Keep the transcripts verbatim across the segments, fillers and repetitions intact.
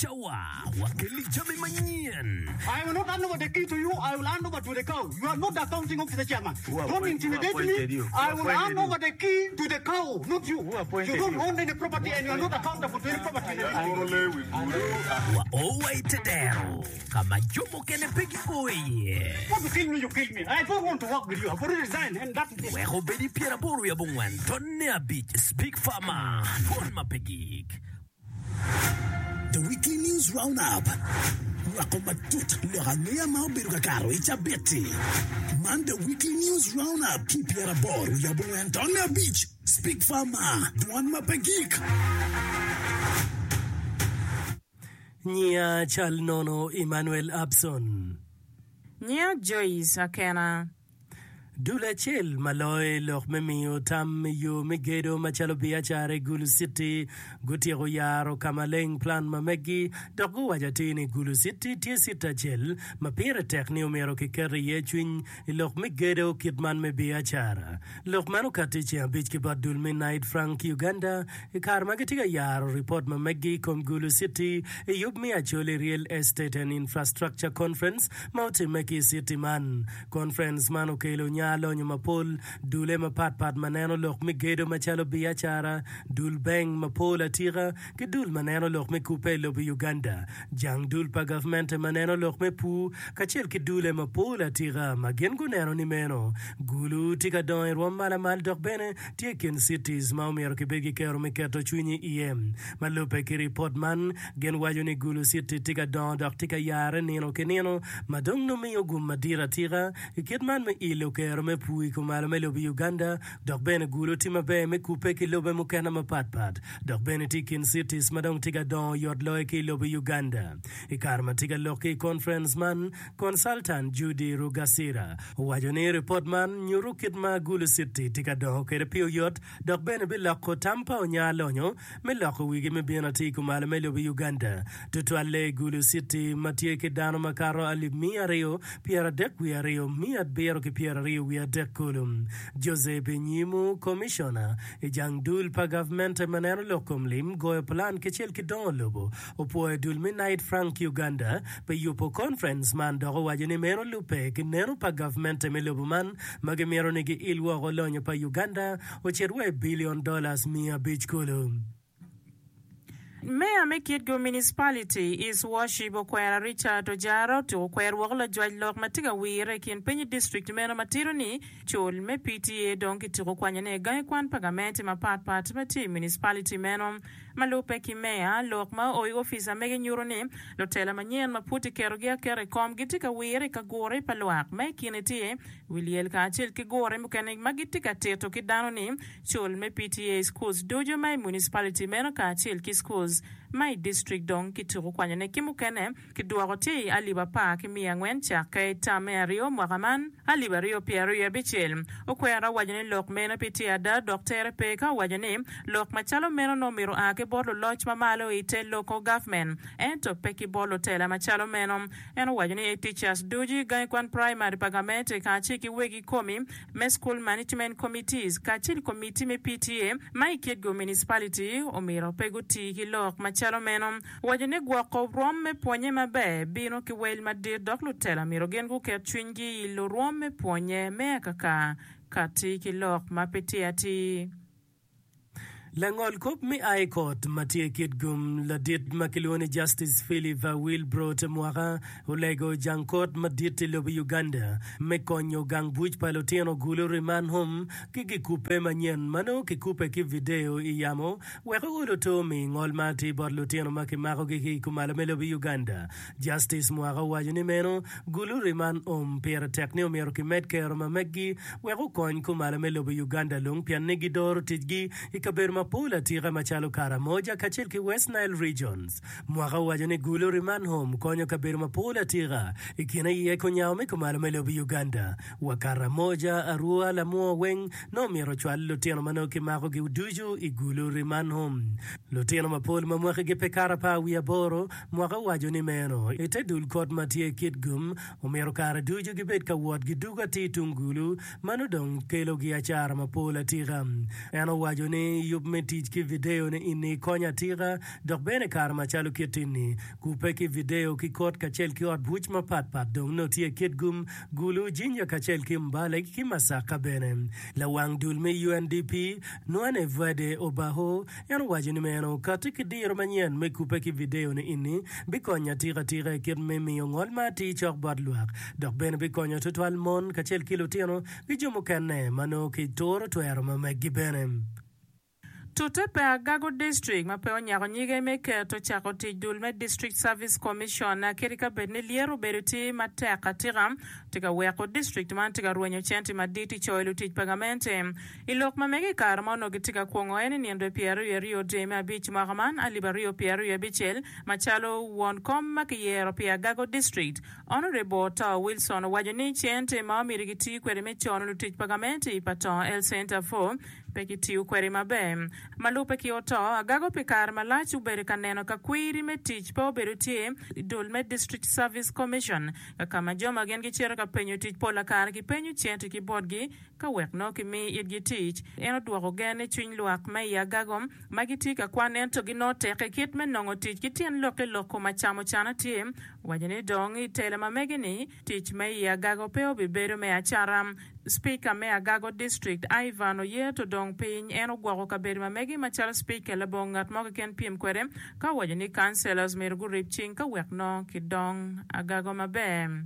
Cawa wakeli jami manyen. I will not hand over the key to you, I will hand over to the cow. You are not the accounting officer chairman. Who Don't appoint- who intimidate me. appointed you? Who I will appointed hand you? over the key to the cow, not you. Who appointed You don't you? own any property and you are not accountable to any property in the district. With Gulu. Wa o wa i te dero ka ma jo mukene pe gio iye. Want to kill me, you kill me. I don't want to work with you. I've already resigned and that is it. Wek obed i pyeraboro wiye abongwen tonne abic Speak Farmer Dwon ma pe gik. The Weekly News Roundup. Nywako matut lok angeya ma obedo ka kato i cabit-ti. Man The Weekly News Roundup ki pyeraboro wiye abongwen tonne abic Speak Farmer Dwon ma pe gik. Nyiya cal nono Emmanuel Abson. Nyiya Joyce Akena. Dul acel ma loyo i lok me miyo tam i yo me gedo macalo biacara i Gulu City gutyeko yaro ka maleng plan ma meggi dok guwaco atir ni Gulu City tye citi acel ma pire tek ni omyero kiket iye cwiny i lok me gedo kit man me biacara. Lok man okatti i ceng abic ki bot dul me Knight Frank Uganda i kare ma gitye ka yaro ripot ma meggi i kom Gulu City i yub me Acholi Real Estate and Infrastructure Conference ma otimme ki i citi man. Conference man okelo nya lonyo mapol, dule mapatpat ma neno lok me gedo macalo biacara, dul bank mapol atika, ki dul ma neno lok me kubbe i lobo Uganda, jang dul pa gavmente ma neno lok me pur, kacel ki dule mapol atika ma gin guneno ni meno Gulu tye ka dongo i rwom malamal dok bene tye i kin cities ma omyero kibed ki kero me keto cwinyi iye. Ma lubbe ki ripot man, gin waco ni Gulu City tye ka dongo dok tye ka yare nino ki nino ma dong nongo miyo gum madit atika i kit man me ilo kero me pur i kumalo me lobo Uganda dok bene Gulu tye maber me kubbe ki lobe mukene mapatpat dok bene tye i kin cities ma dong tye ka dongo oyot loyo ki i lobo Uganda. I kare ma tye ka lok ki i conference man, Consultant Judy Rugasira owaco ni ripot man nyuto kit ma Gulu City tye ka dongo kwede pi oyot dok bene biloko tam pa onya lonyo me loko wigi me bino atir kumalo me lobo Uganda tutwalle i Gulu City ma tye ki dano makato alip miya aryo pyeradek wiye aryo miya abiro ki pyeraryo wiye adek kulu. Jose Binyimo, Komicona i jang dul pa gavmente ma neno lok kom lim, goyo plan kicel ki dongo lobo, opwoyo dul me Knight Frank Uganda pi yubo conference man dok owaco ni meno lubbe ki neno pa gavmente me lobo man ma gimito ni giil woko lonyo pa Uganda ocit wa i billion dollars miya abic kulu. Meya me Kitgum Municipality, His Worship Okwera Richard Ojara otuko kwer woko lajwac lok ma tye ka wire i kin piny i district meno ma tito ni cul me P T A dong kituko kwanyone i gangi kwan pa gamente mapatpat ma tye i municipality meno. Ma lubbe ki meya, lok ma oo i opic amege nyuto ni lutela manyen ma pud kiketogi aketa i kom gitye ka wire i ka gure pa lwak ma i kine tye wi lyel kacel ki gure mukene ma gitye ka tito ki dano ni cul me P T A schools ducu ma i municipality meno kacel ki schools ma i district dong kituko kwanyone ki mukene kidwoko tye i alip apar ki miya angwen cakke term me aryo mwaka man alip aryo pyeraryo wiye abicel. Okwera owaco ni lok meno pe tye ada dok tere pe ka owaco ni lok macalo meno nongo myero oa ki bot luloc ma malo i te local government ento pe ki bot lutela macalo meno. En owaco ni teachers ducu i gangi kwan primary pa gamente kacel ki wegi komi me school management committees kacel komiti me P T A ma i Kitgum Municipality omyero pe guti ki lok macalo meno. Owaco ni gwoko rwom me pwonye maber bino ki wel madit dok lutela myero gin guket cwinygi i lurwom me pwonye me akaka kati ki lok ma pe tye atir. Langol kop me High Court ma tye i Kitgum, ladit ma kilwongo ni Justice Philip Wilbrod Mwaka olego jang kot madit i lobo Uganda me konyo gang buc pa lutino Gulu Remand Home ki gikubbe manyen ma nongo kikubbe ki video i yamo wek ool oto mi ngol ma atir bot lutino ma kimakogi ki i kumalo me lobo Uganda. Justice Mwaka owaco ni meno Gulu Remand Home pire tek ni omyero kimed kero ma meggi wek okony kumalo me lobo Uganda lung pien ni gidoro ticgi i kabedo mapol atika macalo Karamoja kacel ki West Nile Regions. Mwaka owaco ni Gulu Remand Home konyo kabedo mapol atika i kine iye kunyango me kumalo me lobo Uganda wa Karamoja, Arua, Lamwo weng nongo myero ocwal lutino ma nongo kimakogi ducu i Gulu Remand Home. Lutino mapol ma mwakigi pe kato apar wiye aboro. Mwaka owaco ni meno i te dul kot ma tye Kitgum omyero kare ducu gibed ka wot gidugo atir tung Gulu mano dong kelogi acara mapol atika. En owaco ni yub me tic ki video ni ini konyo atika dok bene kare macalo kit ini kubbe ki video ki kot kacel ki ot buc mapat pat dong nongo tye Kitgum, Gulu, Jinja kacel ki Mbale ki Masaka bene. Lawang dul me U N D P, Nwane Vwede Obaho, en owaco ni meno kati ki diro manyen me kubbe ki video ni ini bikonyo atika atika i kit me miyo ngol ma atir cok bot lwak dok bene bikonyo tutwal mon kacel ki lutino ki jo mukene ma nongo kituro twero ma meggi bene. Tute pe Agago District ma pe onyako nyige me keto cako tic dul me District Service Commission kadi ka bed ni lyero obedo tye matek atika tye ka weko district man tye ka rwenyo cente madit i coyo lutic pa gamente. I lok ma mege i kare ma onongo gitye ka kwongo en i nino pyeraryo aryo dwe me abic mwaka man alip aryo pyeraryo abicel macalo won kom ma kiyero pi Agago District, Honorable Otto Wilson owaco ni cente ma omyero giti kwede me cono lutic pa gamente pa Tongo Health Center four pe kitiyo kwede maber. Ma lubbe ki Otto, Agago pi kare malac obedo ka neno ka kwiri me tic pe obedo tye i dul me District Service Commission ka ka ma jo ma gin gicito ka penyo tic pola kare kipenyo cente ki botgi ka wek nongo kimi itgi tic. En odwoko gen i cwiny lwak me i Agago ma gitye ka kwan ento ginongo tek i kit me nongo tic ki tyen lok i lok kom acamo cana tye waco ni dong i telo ma mege ni tic me i Agago pe obibedo me acata. Speaker me Agago District Ivan Oyeto dong piny en ogwoko kabedo ma mege macalo speaker labongo ngat mo keken pyem kwede ka owaco ni councillors myero gurib cing ka wek nongo kidong Agago maber.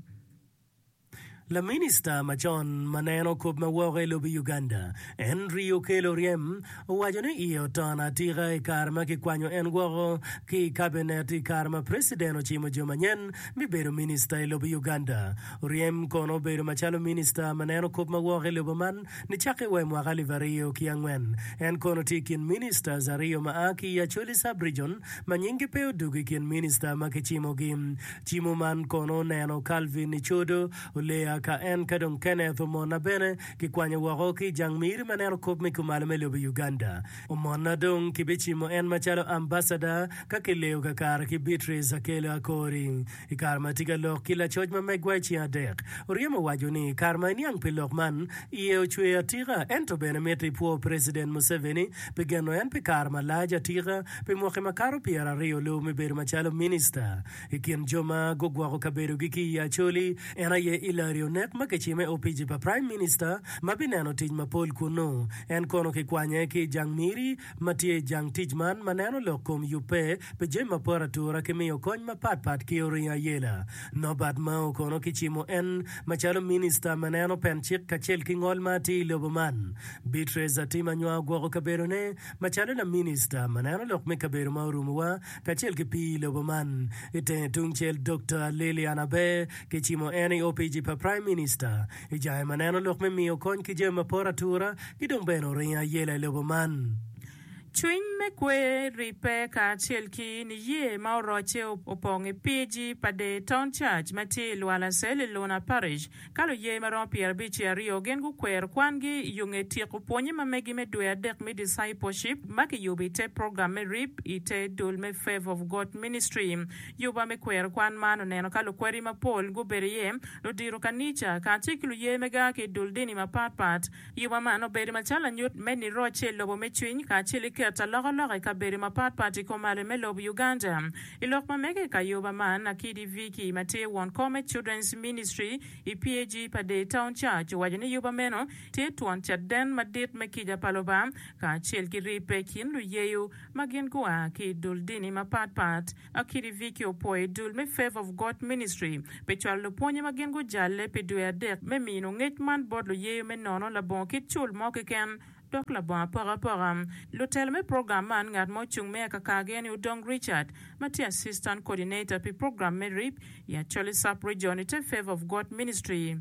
Laminista macon ma neno kop ma woko i lobo Uganda, Henry Okello Oryem, owaco ni iye oton atika i kare ma kikwanyo en woko ki i kabinet i kare ma preciden ocimo jo manyen me bedo minista i lobo Uganda. Oryem kono obedo macalo minista ma neno kop ma woko i lobo man nicakke wa i mwaka alip aryo ki angwen. En kono tye i kin ministers aryo ma a ki i Acholi Sub-region ma nyinggi pe odugo i kin minista ma kicimogi. Cimo man kono oneno Calvin Icodo Olea ka en ka dong Kenneth Omona bene kikwanyo woko ki i jang miri ma neno kop me kumalo me lobo Uganda. Omona dong kibicimo en macalo ambassador ka kileyo kakare ki Beatrice Akello Akori. I kare ma tye ka lok ki lacoc ma megwa i ceng adek, Oryem owaco ni kare ma eniang pi lok man, iye ocwer atika ento bene mito ipwo President Museveni pi geno en pi kare malac atika pi mwaki makato pyeraryo lubo me bedo macalo minista. I kin jo ma gugwoko kabedogi ki i Acholi, en aye Hillary Onek ma kicime opici pa Prime Minister ma bineno tic mapol kunnu. En kono kikwanye ki i jang miri ma tye i jang tic man ma neno lok kom yubbe pi jami ma poto atura ki miyo kony mapat pat ki oringo ayela. Norbert Mao kono kicimo en macalo minista ma neno pen cik kacel ki ngol ma atir i lobo man. Beatrice Atim Anywar ogwoko kabedone macalo laminista ma neno lok me kabedo ma orumowa kacel ki pii i lobo man. I tenge tungcel, Dokta Lilian Aber kicimo en i opici pa Prime Minister i jange ma neno lok me miyo kony ki jami ma poto atura ki dong bene oringo ayela i lobo man. Cwiny me kwer ribbe kacel ki niye ma orocce opong i P A G Pader Town Church ma tye i Lwalacel i Luna Parish. Ka luye ma romo pyerabic ki aryo gin gukwero kwangi i yo nge tyeko pwonye ma megi me dwe adek me Discipleship ma kiyubo i te program me rip i te dul me Favour of God Ministry. Yuba me kwero kwan man oneno ka lukwedi mapol gubedo iye, ludito kanica, kacel ki luye me gaa ki i dul dini mapat pat. Yuba man obedo macalo lanyut me nirocce i lobo me cwiny kacel ki keto alokaloka i kabedo mapat pat i kumalo me lobo Uganda. I lok ma mege ka yuba man, Akidi Vicky ma tye won kom me Children's Ministry i P A G pa Day Town Church owaco ni yuba meno tye twon caden madit me kica pa Lubanga kacel ki ribbe i kin luyeyo ma gin gua ki i dul dini mapat pat. Akidi Vicky opwoyo dul me Favour of God Ministry pi cwalo lupwonye ma gin gujalle pi dwe adek me mino ngec man bot luyeyo me nono labongo kit cul mo keken dok labongo apokapoka. Lutelo me program man ngat ma ocung me akakagi en Odong Richard ma tye Assistant Coordinator pi program me RIP i Acholi Sub-Region i te Favour of God Ministry.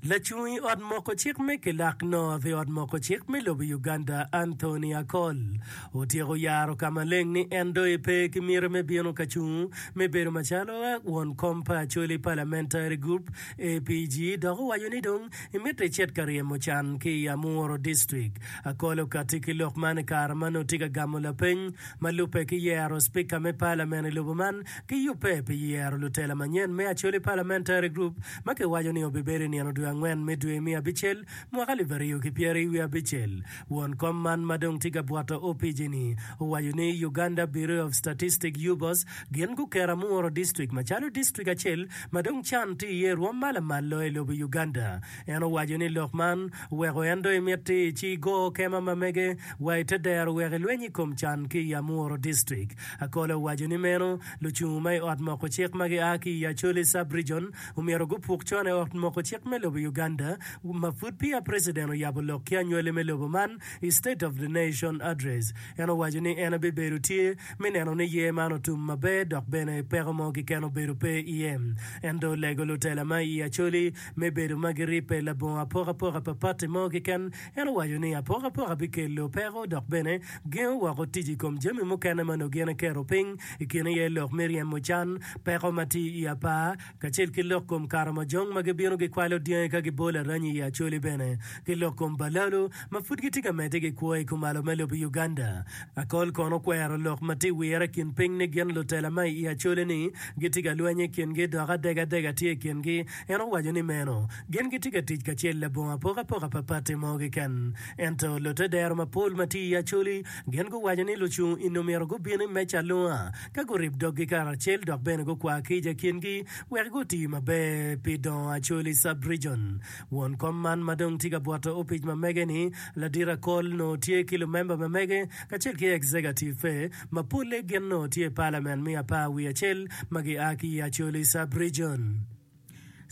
Lacung i ot moko cik me Kilak North i ot moko cik me lobo Uganda, Anthony Akol, otyeko yaro ka maleng ni en dong epe ki miti me bino ka cung me bedo macalo won kom pa Acholi Parliamentary Group, A P G, dok owaco ni dong emito ecit ka ryemo can ki i Amuru District. Akol okatti ki lok man i kare ma nongo tye ka gamo lapeny ma lubbe ki yero Spika me Parliament i lobo man ki yubbe pi yero lutela manyen me Acholi Parliamentary Group ma kiwaco ni obibedo i nino dwe angwen me dwe me abicel mwaka alip aryo ki pyeri wiye abicel. Won kom man ma dong tye ka bwoto opici-ni owaco ni Uganda Bureau of Statistics, UBOS, gin guketo Amuru District macalo distrik acel ma dong can tye iye rwom ma lamal loyo i lobo Uganda. En owaco ni lok man oweko en dong emiti ci go kema ma mege wa i te dero wek elweny i kom can ki i Amuru District. Akol owaco ni meno lucungu ma i ot moko cik ma gia ki i Acholi Sub-Region omyero gupuk con i ot moko cik me lobo Uganda ma pud peya President oyabo lok ki anywali me lobo man i State of the Nation Address. En owaco ni en ebibedo tye me neno ni yer man otum maber dok bene peko mo keken obedo pe iye. Ento olego lutela ma i Acholi me bedo ma giribbe labongo apokapoka pa pati mo keken. En owaco ni apokapoka bikelo peko dok bene gengo woko tic i kom jami mukene ma nongo gin eketo piny, i kine iye lok me ryemo can, peko ma tye i apar, kacel ki lok kom karamojong ma gibino gikwalo dyangi ka gibolo aranyi i Acholi bene, ki lok kom balalu ma pud gitye ka medde ki kwo i kumalo me lobo Uganda. Akol kono okwero lok ma tye wire i kin piny ni gin lutela ma i Acholi ni gitye ka lweny i kingi dok adegadega tye i kingi. En owaco ni meno gin gitye ka tic kacel labongo apokapoka pa pati mo keken. Ento lute dero mapol ma tye i Acholi gin guwaco ni lucung eni omyero gubin i meja alunga ka gurib doggi karacel dok bene gukwa kica i kingi wek guti maber pi dongo Acholi Sub-Region. Won kom man ma dong tye ka bwoto opic ma mege-ni, Ladit Akol nongo tye ki lumemba ma mege kacel ki executive ma polle gin nongo tye i Parliament me apar wiye acel ma gia ki i Acholi Sub-Region.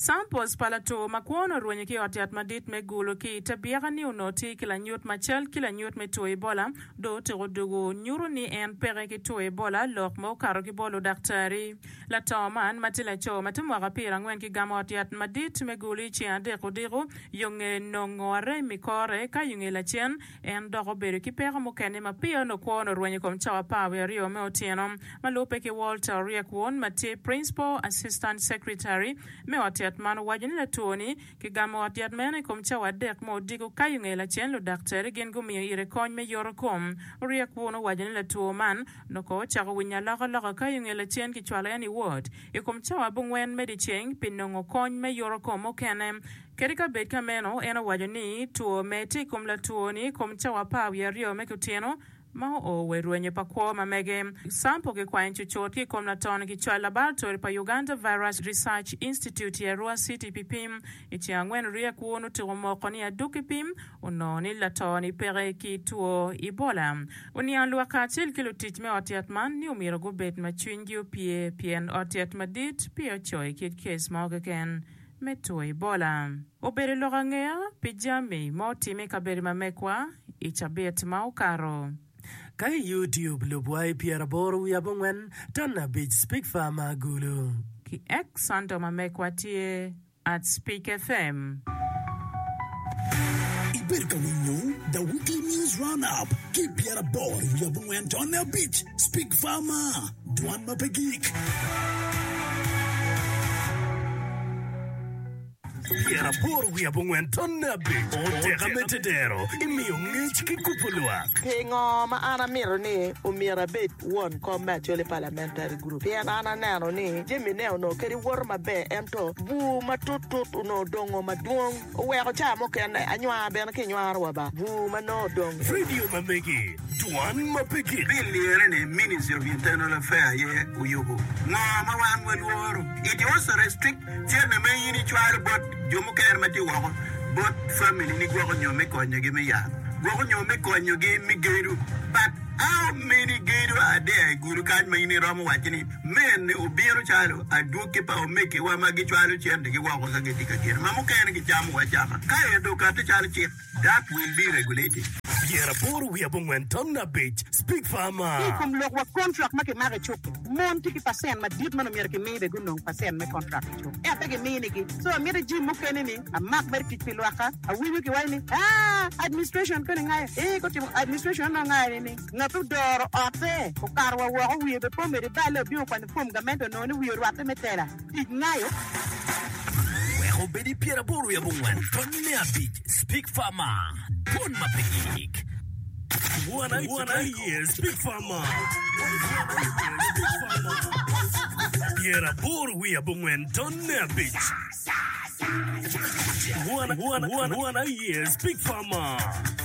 Samples pa latwo ma kwone orwenyo ki i ot yat madit me Gulu ki i te byeka ni onongo tye ki lanyut macal ki lanyut me two Ebola dong otyeko dugo nyuto ni en peke ki two Ebola lok ma okato ki bot ludaktari. Lato man ma tye laco ma tye mwaka pyera angwen ki gamo ot yat madit me Gulu i ceng adek odiko yo nge nongo arem i kore ka yo nge lacen En dok obedo ki peko mukene ma peya onongo kwone orwenyo i kom cawa apar wiye aryo me otyeno. Ma lubbe ki Walter Oriekwon ma tye Principal Assistant Secretary me ot yat man owaco ni latwo-ni kigamo ot yat meno i kom cawa adek me odiko ka i nge lacen ludaktari gin gumiyo ire kony me yoto kom. Oriekwon owaco ni latwo man onongo ocako winyo alokaloka ka i nge lacen kicwalo en i ward i kom cawa abongwen me dyeceng pi nongo kony me yoto kom mukene. Kadi ka bed ka meno, en owaco ni two medde i kom latwo-ni i kom cawa apar wiye aryo me kutyeno ma oo wa i rwenyo pa kwo ma mege. Sampo kikwanyo cucut ki i kom lato-ni kicwalo laboratori pa Uganda Virus Research Institute i Arua City pi pim. I ceng angwen Riek Wun otuko moko ni adwogi pim onongo ni lato-ni peke ki two Ebola. Oniango lwak kacel ki lutic me ot yat man ni omyero gubed ma cwinygi opye pien ot yat madit peya ocoyo kit kes mo keken. me two Ebola. Obedo lok angeya pi jami ma otimme i kabedo ma megwa i cabit ma okato. Ka i YouTube lubwa i pyeraboro wiye abongwen ton abic Speak Farmer Gulu. Ki X handle ma megwa tye at Speak FM. Ibedo ka winyo The Weekly News Roundup ki i pyeraboro wiye abongwen tonne abic Speak Farmer, Dwan ma pe gik. Pyeraboro wiye abongwen tonne abic Oteka me tedero imiyo ngec ki kubo lwak. Pingo ma an amito ni omyero abed won kom me Acholi Parliamentary Group? Pien an aneno ni jami ne onongo kadi woto maber ento bur matut tut onongo dongo madwong oweko ca mukene anywar bene ki nywaro wa ba bur ma nongo odong. Radio ma megi, dwan ma pe gik. Bill ene ni Ministry of Internal Affair aye oyubo. Ngo ma wan walworo? It also restrict cente ma in icwalo bot jo mukene ma tye woko bot family ni gwoko nyo me konyogi me yat, gwoko nyo me konyogi me gedo. But how many gedo are there i gudo kany ma in iromo waco ni mene obino calo adwogi pa omegiwa ma gicwalo centegi woko ka gitye ka gedo ma mukene gicamo wa acama ka ento okati calo cik that will be regulated. Pyeraboro wiye abongwen ton abic Speak Farmer. Ki i kom lok wa kontrak ma kimako i cuk-ki, mon tye ki pacent madit ma nongo myero kimi bene gunong pacent me kontrak i cuk ento pe giminigi. So amito jim mukene ni amak mere tic pi lwakka. Awinyo kiwaco ni aa administration koni ngayo ee kotimo administration onongo ngayo ni ni ngat odoro otte okato wa woko wiye bene pe omedo iballe obino okwanyo fom gamente onongo ni wiye orwatte me tela tic ngayo. Wek obed i pyeraboro wiye abongwen tonne abic Speak Farmer, Dwon ma pe gik. Won aye Speak Farmer, pyeraboro wiye abongwen tonne abic. One, one, one, one, yes, Big Pharma.